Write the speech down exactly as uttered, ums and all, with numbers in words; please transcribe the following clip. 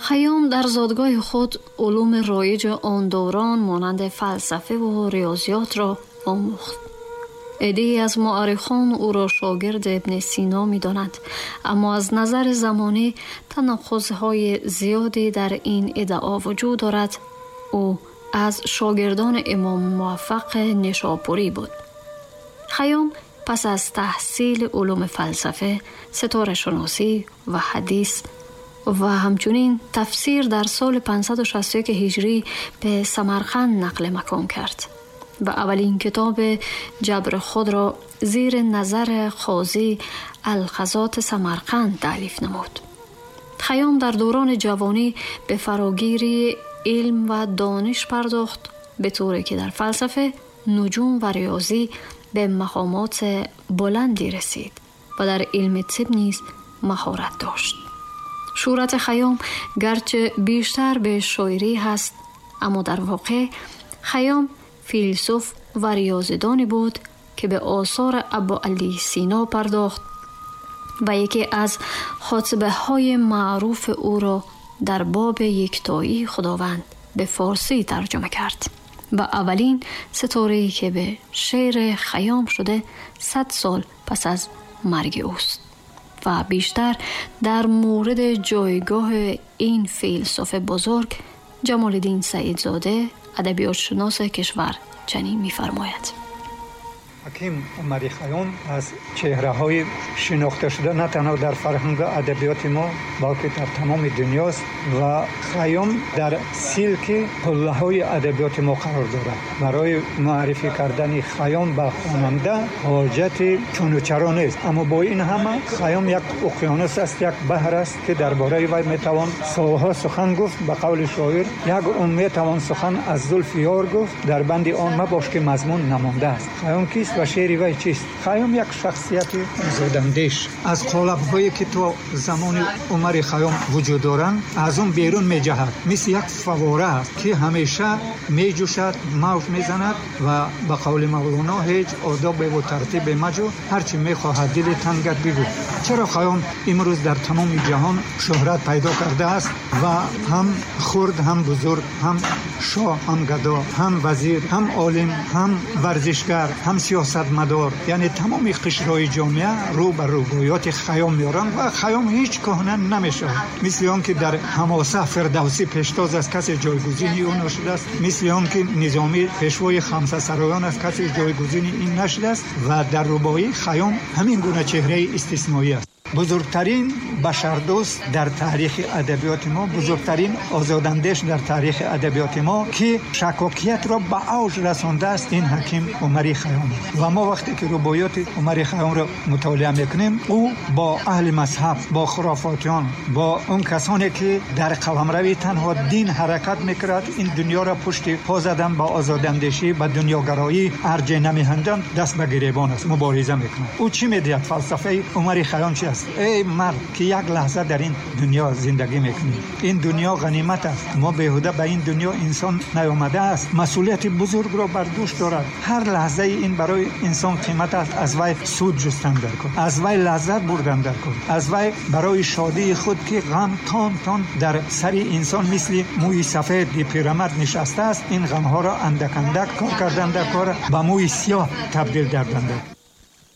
خیام در زادگاه خود علوم رایج آن دوران مانند فلسفه و ریاضیات را آموخت. عده‌ای از مؤرخان او را شاگرد ابن سینا می‌دانند، اما از نظر زمانی تناقض‌های زیادی در این ادعا وجود دارد. او از شاگردان امام موفق نشاپوری بود. خیام پس از تحصیل علوم فلسفه، ستاره شناسی و حدیث و همچنین تفسیر در سال پانصد و شصت و یک هجری به سمرقند نقل مکان کرد و اولین کتاب جبر خود را زیر نظر قاضی القضات سمرقند تألیف نمود. خیام در دوران جوانی به فراگیری علم و دانش پرداخت، به طوری که در فلسفه، نجوم و ریاضی به مقامات بلندی رسید و در علم طب نیز مهارت داشت. شهرت خیام گرچه بیشتر به شاعری هست، اما در واقع خیام فیلسوف و ریاضیدانی بود که به آثار ابوعلی سینا پرداخت و یکی از خطبه های معروف او را در باب یکتایی خداوند به فارسی ترجمه کرد و اولین ستاره‌ای که به شعر خیام شده صد سال پس از مرگ اوست و بیشتر در مورد جایگاه این فیلسوف بزرگ جمال الدین سعیدزاده ادبیات شناس کشور چنین می‌فرماید: حکیم عمر خیام از چهره‌های شناخته شده نه تنها در فرهنگ و ادبیات ما بلکه در تمام دنیاست و خیام در سلک قله‌های ادبیات ما قرار دارد. برای معرفی کردن خیام به خواننده حاجت چون و چرا نیست، اما با این همه خیام یک اقیانوس است، یک بحر است که درباره وی میتوان سالها سخن گفت. به قول شاعر یک عمر میتوان سخن از زلف یار گفت، در بند آن مباش که مضمون نمانده است. خیام کیست و شعر وی چیست؟ خیام یک شخصیت آزاداندیش از قالب‌هایی که تا زمان عمر خیام وجود دارند از اون بیرون میجهد، مثل یک فواره است که همیشه میجوشد، موج میزند و به قول مولانا هیچ آداب و ترتیب مجو، هرچی میخواهد دل تنگت بگو. چرا خیام امروز در تمام جهان شهرت پیدا کرده است و هم خرد هم بزرگ، هم شاه هم گدا، هم وزیر هم عالم، هم ورزشگر، هم سیاستمدار، یعنی تمام قشرهای جامعه رو بر روایات خیام میارن و خیام هیچ کهنه نمیشه. مثل آن که در حماسه فردوسی پیشتاز از کسی جایگزینی او نشده است، مثل آن که نظامی پیشوای خمسه سرایان از کسی جایگزینی این نشده است و در رباعی خیام همین گونه چهره استثنایی است. بزرگترین بشردوست در تاریخ ادبیات ما، بزرگترین آزاداندیش در تاریخ ادبیات ما که شکاکیت را به اوج رسانده است، این حکیم عمر خیام. و ما وقتی که رباعیات عمر خیام را مطالعه میکنیم، او با اهل مذهب، با خرافاتیان، با اون کسانی که در قلمرو تنها دین حرکت میکرد، این دنیا را پشت پا زدن، با آزاداندیشی، با دنیاگرایی ارج نمیهندن، دست به گریبان است، مبارزه میکنه. او چی میدهد؟ فلسفه عمر خیام چی است؟ ای مرد که یک لحظه در این دنیا زندگی میکنی، این دنیا غنیمت است، ما بیهوده به این دنیا انسان نیامده است، مسئولیت بزرگ را بر دوش دارد. هر لحظه این برای انسان قیمت است، از وی سود جستن در کن، از وی لذت بردن در کن، از وی برای شادی خود که غم تان تان در سر انسان مثل موی سفید پیرمرد نشسته است، این غم ها را اندک اندک کار کردن در کار به موی سیاه تبدیل کردن.